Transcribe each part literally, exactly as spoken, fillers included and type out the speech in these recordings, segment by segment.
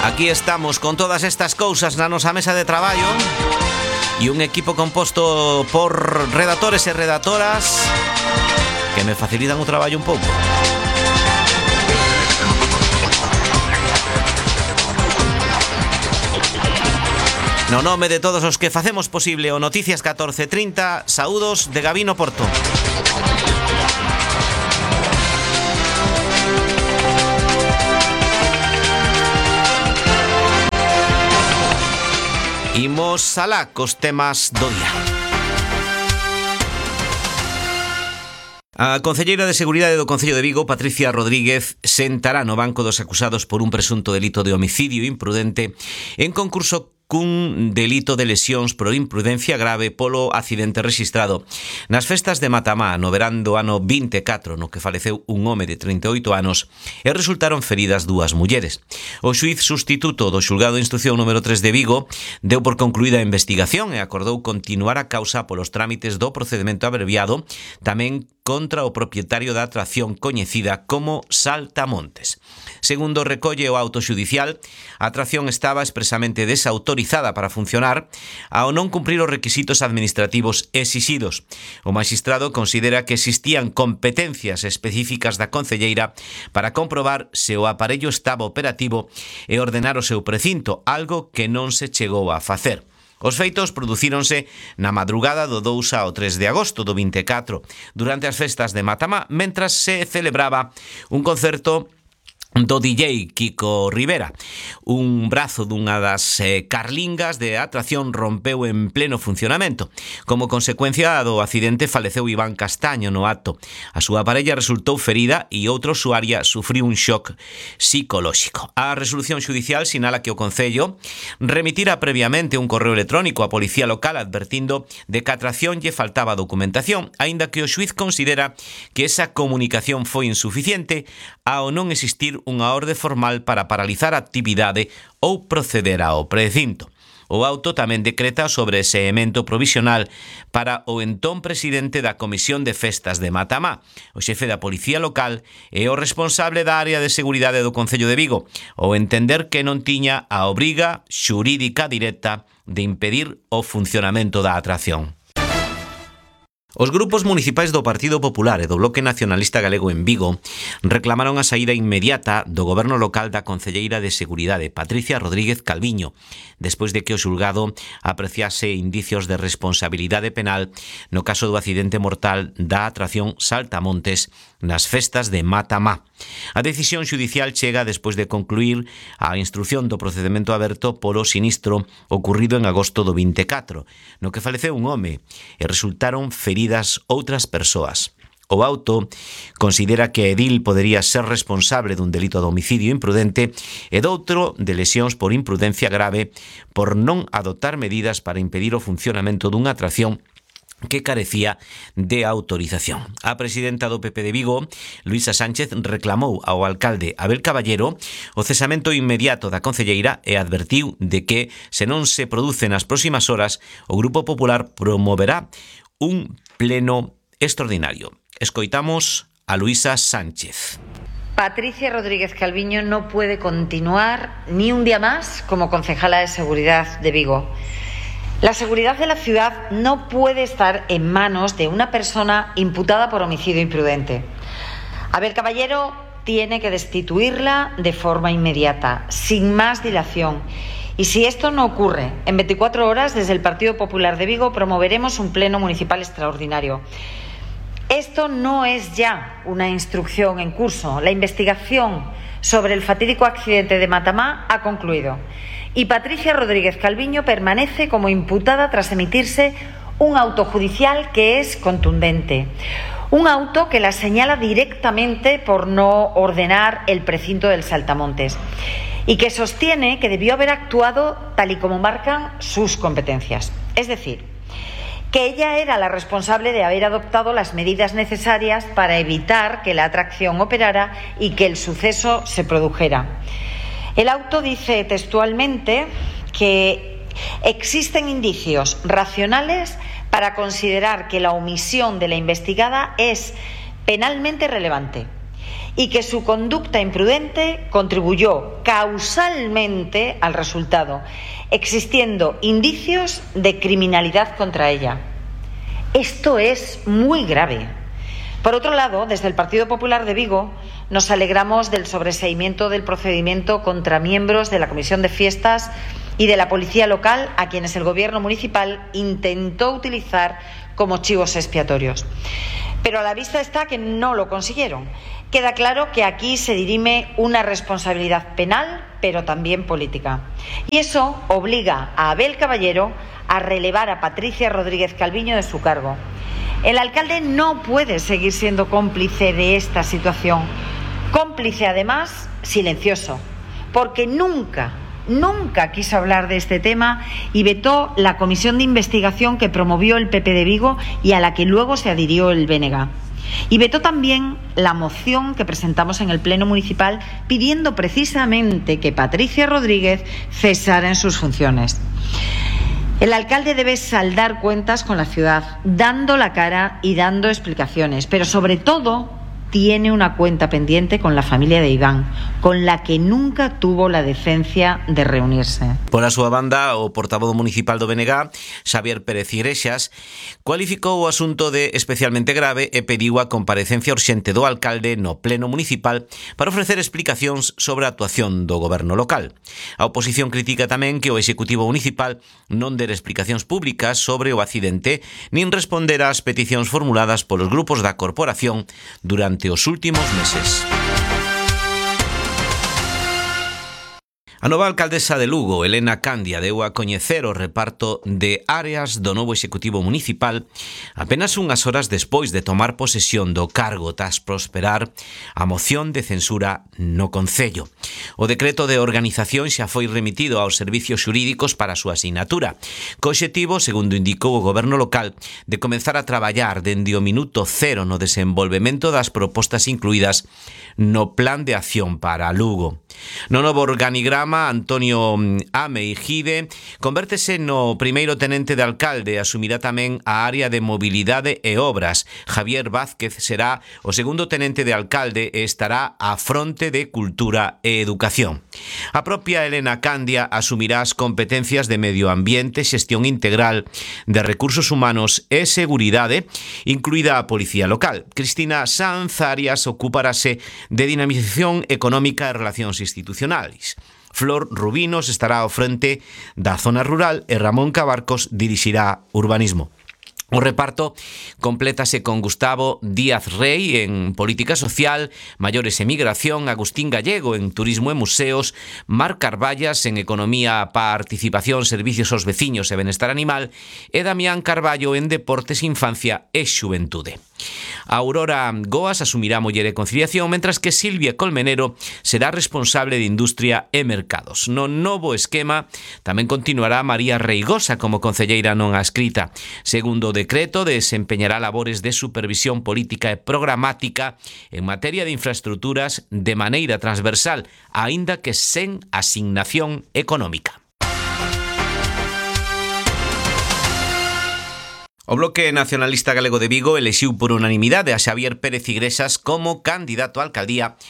Aquí estamos con todas estas cousas na nosa mesa de traballo e un equipo composto por redactores e redactoras que me facilitan o traballo un pouco. No nome de todos os que facemos posible o Noticias catorce trinta, saúdos de Gabino Porto. Imos alá cos temas do día. A concelleira de Seguridade do Concello de Vigo, Patricia Rodríguez, sentará no banco dos acusados por un presunto delito de homicidio imprudente en concurso cun delito de lesións por imprudencia grave polo accidente rexistrado nas festas de Matamá no verán do ano vinte e catro, no que faleceu un home de trinta e oito anos e resultaron feridas dúas mulleres. O xuíz sustituto do xulgado de instrucción número tres de Vigo deu por concluída a investigación e acordou continuar a causa polos trámites do procedemento abreviado, tamén contra o propietario da atracción coñecida como Saltamontes. Segundo recolle o auto xudicial, a atracción estaba expresamente desautorizada para funcionar ao non cumprir os requisitos administrativos exixidos. O magistrado considera que existían competencias específicas da concelleira para comprobar se o aparello estaba operativo e ordenar o seu precinto, algo que non se chegou a facer. Os feitos producíronse na madrugada do dous ao tres de agosto do vinte e catro, durante as festas de Matamá, mentras se celebraba un concerto do D J Kiko Rivera. Un brazo dunha das eh, carlingas de atracción rompeu en pleno funcionamento. Como consecuencia do accidente faleceu Iván Castaño no acto. A súa parella resultou ferida e outra usuaria sufriu un shock psicolóxico. A resolución xudicial sinala que o Concello remitira previamente un correo electrónico á policía local advertindo de que a atracción lle faltaba documentación, aínda que o xuiz considera que esa comunicación foi insuficiente ao non existir unha orde formal para paralizar a actividade ou proceder ao precinto. O auto tamén decreta sobre ese emento provisional para o entón presidente da Comisión de Festas de Matamá, o xefe da Policía Local e o responsable da área de seguridade do Concello de Vigo, ao entender que non tiña a obriga xurídica directa de impedir o funcionamento da atracción. Os grupos municipais do Partido Popular e do Bloque Nacionalista Galego en Vigo reclamaron a saída inmediata do goberno local da concelleira de Seguridade, Patricia Rodríguez Calviño, despois de que o xulgado apreciase indicios de responsabilidade penal no caso do accidente mortal da atracción Saltamontes nas festas de Matamá. A decisión xudicial chega despois de concluir a instrución do procedemento aberto polo sinistro ocurrido en agosto do vinte e catro, no que faleceu un home e resultaron feridos outras persoas. O auto considera que Edil podería ser responsable dun delito de homicidio imprudente e doutro de lesións por imprudencia grave por non adoptar medidas para impedir o funcionamento dunha atracción que carecía de autorización. A presidenta do P P de Vigo, Luisa Sánchez, reclamou ao alcalde Abel Caballero o cesamento inmediato da concelleira e advertiu de que, se non se produce nas próximas horas, o Grupo Popular promoverá un pleno extraordinario. Escoitamos a Luisa Sánchez. Patricia Rodríguez Calviño no puede continuar ni un día más como concejala de Seguridad de Vigo. La seguridad de la ciudad no puede estar en manos de una persona imputada por homicidio imprudente. Abel Caballero tiene que destituirla de forma inmediata, sin más dilación. Y si esto no ocurre, en veinticuatro horas, desde el Partido Popular de Vigo promoveremos un pleno municipal extraordinario. Esto no es ya una instrucción en curso. La investigación sobre el fatídico accidente de Matamá ha concluido. Y Patricia Rodríguez Calviño permanece como imputada tras emitirse un auto judicial que es contundente. Un auto que la señala directamente por no ordenar el precinto del Saltamontes y que sostiene que debió haber actuado tal y como marcan sus competencias. Es decir, que ella era la responsable de haber adoptado las medidas necesarias para evitar que la atracción operara y que el suceso se produjera. El auto dice textualmente que existen indicios racionales para considerar que la omisión de la investigada es penalmente relevante y que su conducta imprudente contribuyó causalmente al resultado, existiendo indicios de criminalidad contra ella. Esto es muy grave. Por otro lado, desde el Partido Popular de Vigo nos alegramos del sobreseimiento del procedimiento contra miembros de la Comisión de Fiestas y de la Policía Local, a quienes el Gobierno municipal intentó utilizar como chivos expiatorios. Pero a la vista está que no lo consiguieron. Queda claro que aquí se dirime una responsabilidad penal, pero también política. Y eso obliga a Abel Caballero a relevar a Patricia Rodríguez Calviño de su cargo. El alcalde no puede seguir siendo cómplice de esta situación. Cómplice, además, silencioso, porque nunca, nunca quiso hablar de este tema y vetó la comisión de investigación que promovió el P P de Vigo y a la que luego se adhirió el B N G. Y vetó también la moción que presentamos en el Pleno Municipal pidiendo precisamente que Patricia Rodríguez cesara en sus funciones. El alcalde debe saldar cuentas con la ciudad, dando la cara y dando explicaciones, pero sobre todo tiene una cuenta pendiente con la familia de Iván, con la que nunca tuvo la decencia de reunirse. Por a súa banda, o portavoz municipal do B N G, Xavier Pérez Igrexas, cualificou o asunto de especialmente grave e pediu a comparecencia urxente do alcalde no pleno municipal para ofrecer explicacións sobre a actuación do goberno local. A oposición critica tamén que o executivo municipal non der explicacións públicas sobre o accidente nin responder ás peticións formuladas polos grupos da corporación durante os últimos meses. A nova alcaldesa de Lugo, Elena Candia, deu a coñecer o reparto de áreas do novo executivo municipal apenas unhas horas despois de tomar posesión do cargo tras prosperar a moción de censura no Concello. O decreto de organización xa foi remitido aos servicios xurídicos para a súa asignatura, co obxectivo, segundo indicou o goberno local, de comenzar a traballar dende o minuto cero no desenvolvemento das propostas incluídas no Plan de Acción para Lugo. No novo organigrama, Antonio Ame Gide convértese no primeiro tenente de alcalde e asumirá tamén a área de mobilidade e obras. Javier Vázquez será o segundo tenente de alcalde e estará á fronte de cultura e educación. A propia Elena Candia asumirá as competencias de medio ambiente, xestión integral de recursos humanos e seguridade, incluída a policía local. Cristina Sanz Arias ocuparase de dinamización económica e relacións institucionais. Flor Rubinos estará ao frente da zona rural e Ramón Cabarcos dirixirá urbanismo. O reparto complétase con Gustavo Díaz Rey en Política Social, Maiores e Migración, Agustín Gallego en Turismo e Museos, Mar Carballas en Economía, Participación, Servicios aos Veciños e Benestar Animal e Damián Carballo en Deportes, Infancia e Xuventude. A Aurora Goas asumirá Muller e Conciliación, mentras que Silvia Colmenero será responsable de Industria e Mercados. No novo esquema tamén continuará María Reigosa como concelleira non adscrita. Segundo o decreto, desempeñará labores de supervisión política e programática en materia de infraestructuras de maneira transversal, aínda que sen asignación económica. O Bloque Nacionalista Galego de Vigo elixiu por unanimidade a Xavier Pérez Igrexas como candidato á alcaldía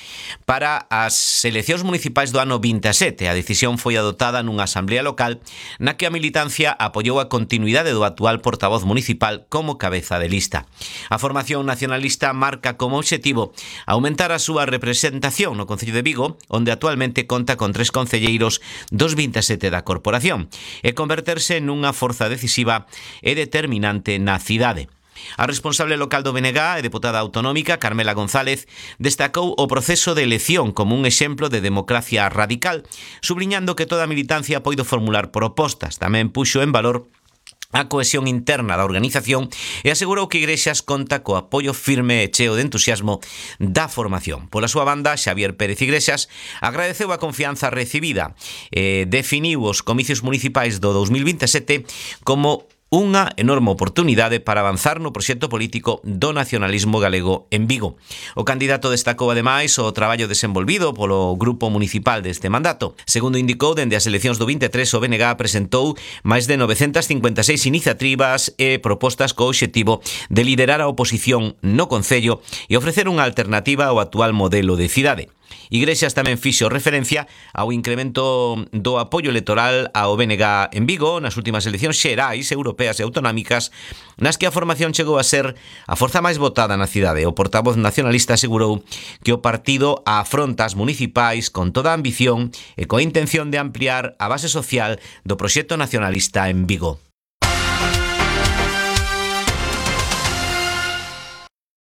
para as eleccións municipais do ano vinte e sete. A decisión foi adoptada nunha asamblea local na que a militancia apoiou a continuidade do actual portavoz municipal como cabeza de lista. A formación nacionalista marca como obxectivo aumentar a súa representación no Concello de Vigo, onde actualmente conta con tres concelleiros dos vinte e sete da corporación, e converterse nunha forza decisiva e determinante na cidade. A responsable local do B N G e deputada autonómica, Carmela González, destacou o proceso de elección como un exemplo de democracia radical, subliñando que toda a militancia poido formular propostas. Tamén puxo en valor a cohesión interna da organización e asegurou que Igrexas conta co apoio firme e cheo de entusiasmo da formación. Pola súa banda, Xavier Pérez Igrexas agradeceu a confianza recibida e definiu os comicios municipais do dos mil vinte e sete como unha enorme oportunidade para avanzar no proxecto político do nacionalismo galego en Vigo. O candidato destacou ademais o traballo desenvolvido polo grupo municipal deste mandato. Segundo indicou, dende as eleccións do vinte e tres o B N G presentou máis de novecentas cincuenta e seis iniciativas e propostas co obxectivo de liderar a oposición no Concello e ofrecer unha alternativa ao actual modelo de cidade. Iglesias tamén fixo referencia ao incremento do apoio electoral ao B N G en Vigo nas últimas eleccións xerais, europeas e autonómicas, nas que a formación chegou a ser a forza máis votada na cidade. O portavoz nacionalista asegurou que o partido afronta as municipais con toda a ambición e coa intención de ampliar a base social do proxecto nacionalista en Vigo.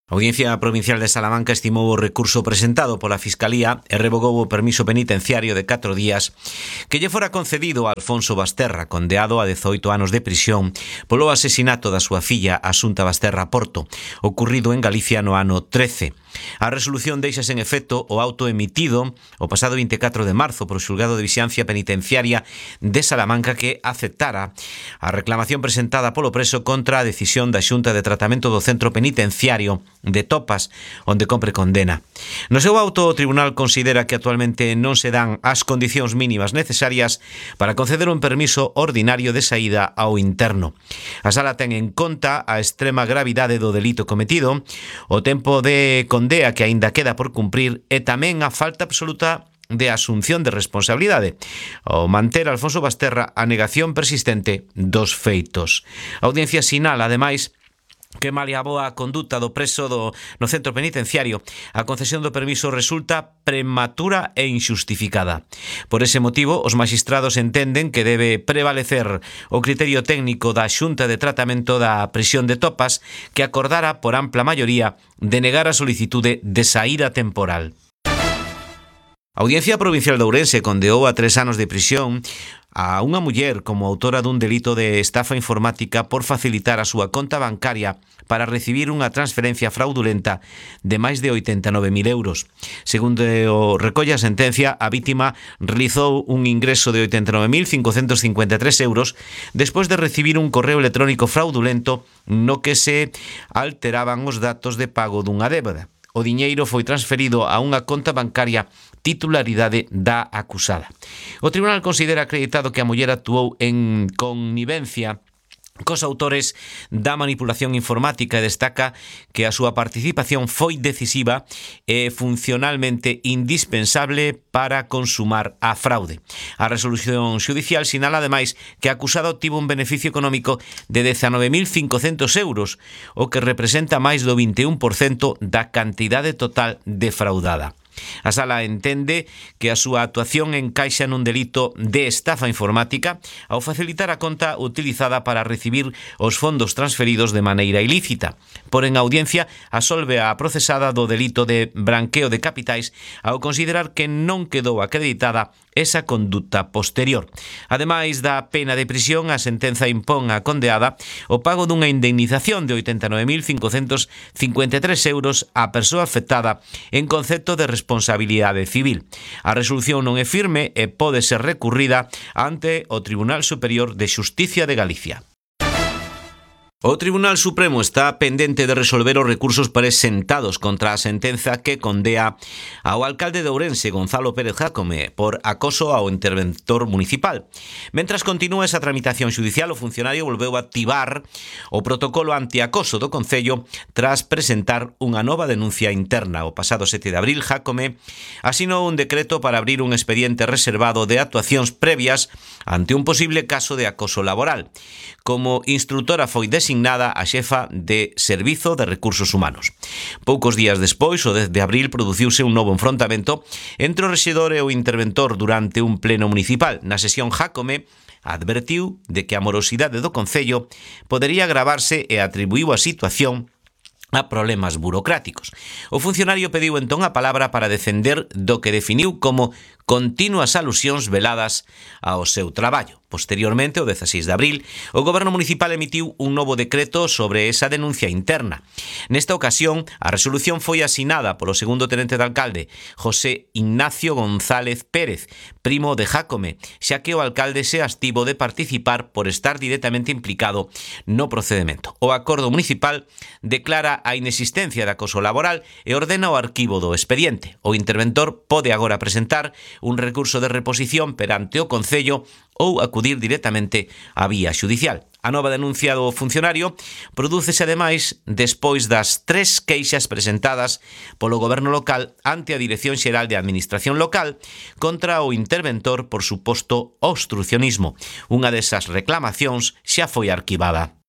A Audiencia Provincial de Salamanca estimou o recurso presentado pola Fiscalía e revogou o permiso penitenciario de catro días que lle fora concedido a Alfonso Basterra, condeado a dezoito anos de prisión polo asesinato da súa filla Asunta Basterra Porto, ocurrido en Galicia no ano trece. A resolución deixa sen efecto o auto emitido o pasado vinte e catro de marzo polo Xulgado de Vixiancia Penitenciaria de Salamanca que aceptara a reclamación presentada polo preso contra a decisión da Xunta de Tratamento do Centro Penitenciario de Topas, onde compre condena. No seu auto, o tribunal considera que actualmente non se dan as condicións mínimas necesarias para conceder un permiso ordinario de saída ao interno. A sala ten en conta a extrema gravidade do delito cometido, o tempo de condea que aínda queda por cumprir e tamén a falta absoluta de asunción de responsabilidade, ao manter Alfonso Basterra a negación persistente dos feitos. A audiencia sinala, ademais, que malia a boa conduta do preso do, no centro penitenciario, a concesión do permiso resulta prematura e inxustificada. Por ese motivo, os maxistrados entenden que debe prevalecer o criterio técnico da Xunta de Tratamento da Prisión de Topas, que acordara por ampla maioría denegar a solicitude de saída temporal. A Audiencia Provincial de Ourense condeou a tres anos de prisión a unha muller como autora dun delito de estafa informática por facilitar a súa conta bancaria para recibir unha transferencia fraudulenta de máis de oitenta e nove mil euros. Segundo o recolle a sentencia, a vítima realizou un ingreso de oitenta e nove mil cincocentos cincuenta e tres euros despois de recibir un correo electrónico fraudulento no que se alteraban os datos de pago dunha débeda. O diñeiro foi transferido a unha conta bancaria titularidade da acusada. O tribunal considera acreditado que a muller actuou en connivencia cos autores da manipulación informática e destaca que a súa participación foi decisiva e funcionalmente indispensable para consumar a fraude. A resolución xudicial sinala ademais que a acusada obtivo un beneficio económico de dezanove mil cincocentos euros, o que representa máis do vinte e un por cento da cantidade total defraudada. A sala entende que a súa actuación encaixa nun delito de estafa informática ao facilitar a conta utilizada para recibir os fondos transferidos de maneira ilícita. Por en audiencia, absolve a procesada do delito de branqueo de capitais ao considerar que non quedou acreditada esa conduta posterior. Ademais da pena de prisión, a sentenza impón á condeada o pago dunha indemnización de oitenta e nove mil cincocentos cincuenta e tres euros á persoa afectada en concepto de responsabilidade civil. A resolución non é firme e pode ser recurrida ante o Tribunal Superior de Xusticia de Galicia. O Tribunal Supremo está pendente de resolver os recursos presentados contra a sentenza que condea ao alcalde de Ourense, Gonzalo Pérez Jácome, por acoso ao interventor municipal. Mentras continúa esa tramitación xudicial, o funcionario volveu a activar o protocolo antiacoso do Concello tras presentar unha nova denuncia interna. O pasado sete de abril, Jácome asinou un decreto para abrir un expediente reservado de actuacións previas ante un posible caso de acoso laboral. Como instructora foi designada a xefa de Servizo de Recursos Humanos. Poucos días despois, o dez de abril, produciuse un novo enfrontamento entre o rexedor e o interventor durante un pleno municipal. Na sesión, Jácome advertiu de que a morosidade do Concello podería agravarse e atribuíu a situación a problemas burocráticos. O funcionario pediu entón a palabra para defender do que definiu como continuas alusións veladas ao seu traballo. Posteriormente, o dezasseis de abril, o Goberno Municipal emitiu un novo decreto sobre esa denuncia interna. Nesta ocasión, a resolución foi asinada polo segundo tenente de alcalde, José Ignacio González Pérez, primo de Jácome, xa que o alcalde se abstivo de participar por estar directamente implicado no procedemento. O acordo municipal declara a inexistencia de acoso laboral e ordena o arquivo do expediente. O interventor pode agora presentar un recurso de reposición perante o Concello ou acudir directamente á vía xudicial. A nova denuncia do funcionario prodúcese ademais despois das tres queixas presentadas polo Goberno local ante a Dirección Xeral de Administración Local contra o interventor por suposto obstrucionismo. Unha desas reclamacións xa foi arquivada.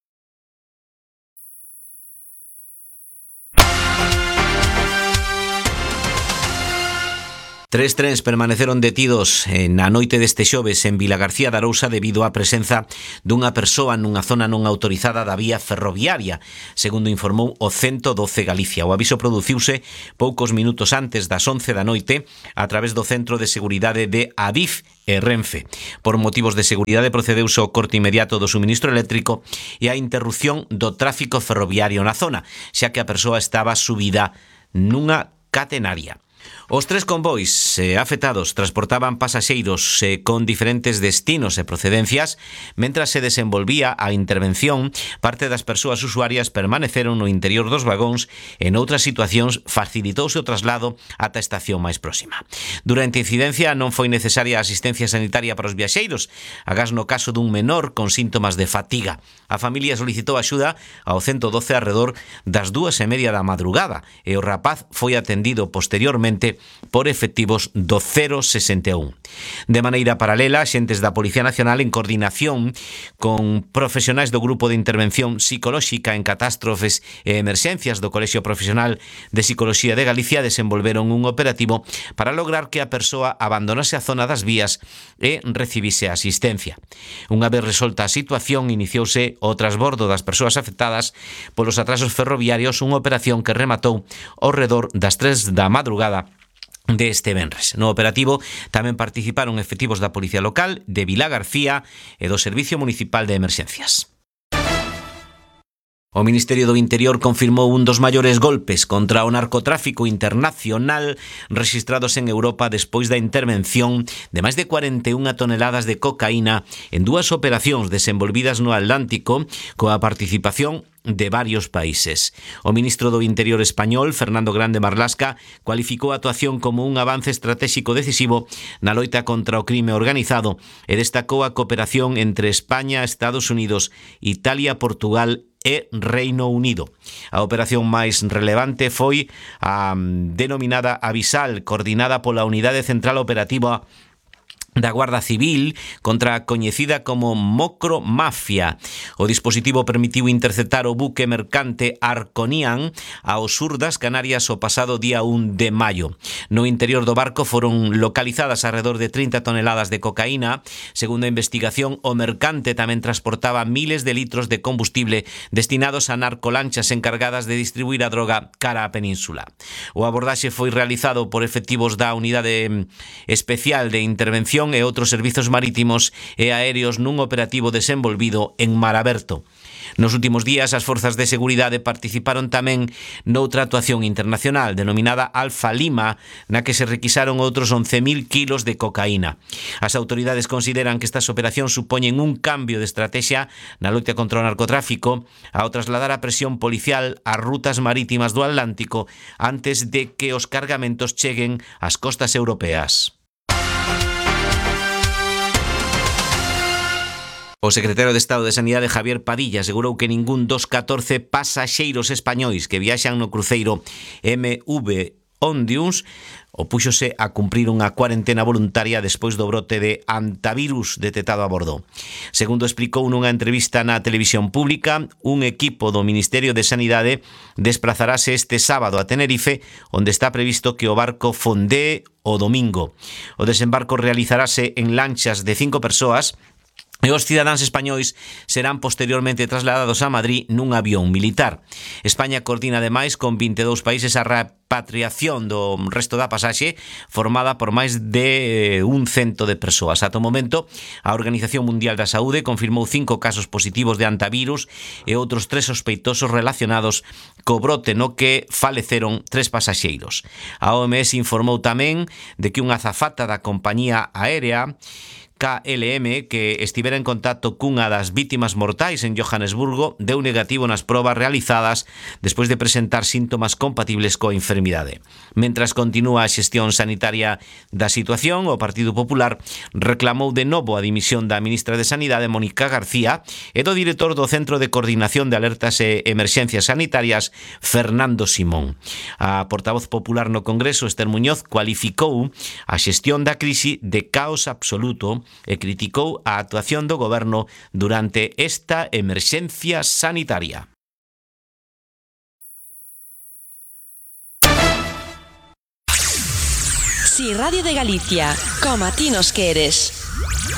Tres trens permaneceron detidos na noite deste xoves en Vilagarcía de Arousa debido á presenza dunha persoa nunha zona non autorizada da vía ferroviaria, segundo informou o ciento doce Galicia. O aviso produciuse poucos minutos antes das once da noite a través do Centro de Seguridade de Adif e Renfe. Por motivos de seguridade procedeuse ao corte inmediato do suministro eléctrico e á interrupción do tráfico ferroviario na zona, xa que a persoa estaba subida nunha catenaria. Os tres convois eh, afectados transportaban pasaxeiros eh, con diferentes destinos e procedencias. Mentras se desenvolvía a intervención, parte das persoas usuarias permaneceron no interior dos vagóns e noutras situacións facilitouse o traslado ata a estación máis próxima. Durante a incidencia non foi necesaria a asistencia sanitaria para os viaxeiros, agás no caso dun menor con síntomas de fatiga. A familia solicitou axuda ao ciento doce arredor das dúas e media da madrugada e o rapaz foi atendido posteriormente por efectivos do cero sesenta e un. De maneira paralela, xentes da Policía Nacional en coordinación con profesionais do Grupo de Intervención Psicolóxica en Catástrofes e Emerxencias do Colexio Profesional de Psicoloxía de Galicia desenvolveron un operativo para lograr que a persoa abandonase a zona das vías e recibise asistencia. Unha vez resolta a situación, iniciouse o transbordo das persoas afectadas polos atrasos ferroviarios, unha operación que rematou ao redor das tres da madrugada deste venres. No operativo tamén participaron efectivos da Policía Local, de Vilagarcía e do Servicio Municipal de Emerxencias. O Ministerio do Interior confirmou un dos maiores golpes contra o narcotráfico internacional rexistrados en Europa despois da intervención de máis de cuarenta e unha toneladas de cocaína en dúas operacións desenvolvidas no Atlántico coa participación de varios países. O ministro do Interior español, Fernando Grande Marlasca, cualificou a actuación como un avance estratégico decisivo na loita contra o crime organizado e destacou a cooperación entre España, Estados Unidos, Italia, Portugal e Reino Unido. A operación máis relevante foi a denominada Avisal, coordinada pola Unidade Central Operativa da Guarda Civil contra a coñecida como Mocromafia. O dispositivo permitiu interceptar o buque mercante Arconian ao sur das Canarias o pasado día un de maio. No interior do barco foron localizadas alrededor de trinta toneladas de cocaína. Segundo a investigación, o mercante tamén transportaba miles de litros de combustible destinados a narcolanchas encargadas de distribuir a droga cara á península. O abordaxe foi realizado por efectivos da Unidade Especial de Intervención e outros servizos marítimos e aéreos nun operativo desenvolvido en mar aberto. Nos últimos días, as forzas de seguridade participaron tamén noutra actuación internacional denominada Alfa Lima, na que se requisaron outros once mil kilos de cocaína. As autoridades consideran que estas operacións supoñen un cambio de estrategia na loita contra o narcotráfico ao trasladar a presión policial ás rutas marítimas do Atlántico antes de que os cargamentos cheguen ás costas europeas. O secretario de Estado de Sanidade, Javier Padilla, asegurou que ningún dos catorce pasaxeiros españois que viaxan no cruceiro M V Ondius opúxose a cumprir unha cuarentena voluntaria despois do brote de antivirus detectado a bordo. Segundo explicou nunha entrevista na televisión pública, un equipo do Ministerio de Sanidade desplazarase este sábado a Tenerife, onde está previsto que o barco fondee o domingo. O desembarco realizarase en lanchas de cinco persoas e os cidadáns españois serán posteriormente trasladados a Madrid nun avión militar. España coordina ademais con vinte e dous países a repatriación do resto da pasaxe, formada por máis de un cento de persoas. Ata o momento, a Organización Mundial da Saúde confirmou cinco casos positivos de antivirus e outros tres sospeitosos relacionados co brote, no que faleceron tres pasaxeiros. A O M S informou tamén de que unha azafata da compañía aérea K L M, que estivera en contacto cunha das vítimas mortais en Johannesburgo, deu negativo nas probas realizadas despois de presentar síntomas compatibles coa enfermidade. Mentras continúa a xestión sanitaria da situación, o Partido Popular reclamou de novo a dimisión da ministra de Sanidade, Mónica García, e do director do Centro de Coordinación de Alertas e Emerxencias Sanitarias, Fernando Simón. A portavoz popular no Congreso, Esther Muñoz, cualificou a xestión da crise de caos absoluto e criticou a actuación do goberno durante esta emerxencia sanitaria. Si Radio de Galicia, como a ti nos queres.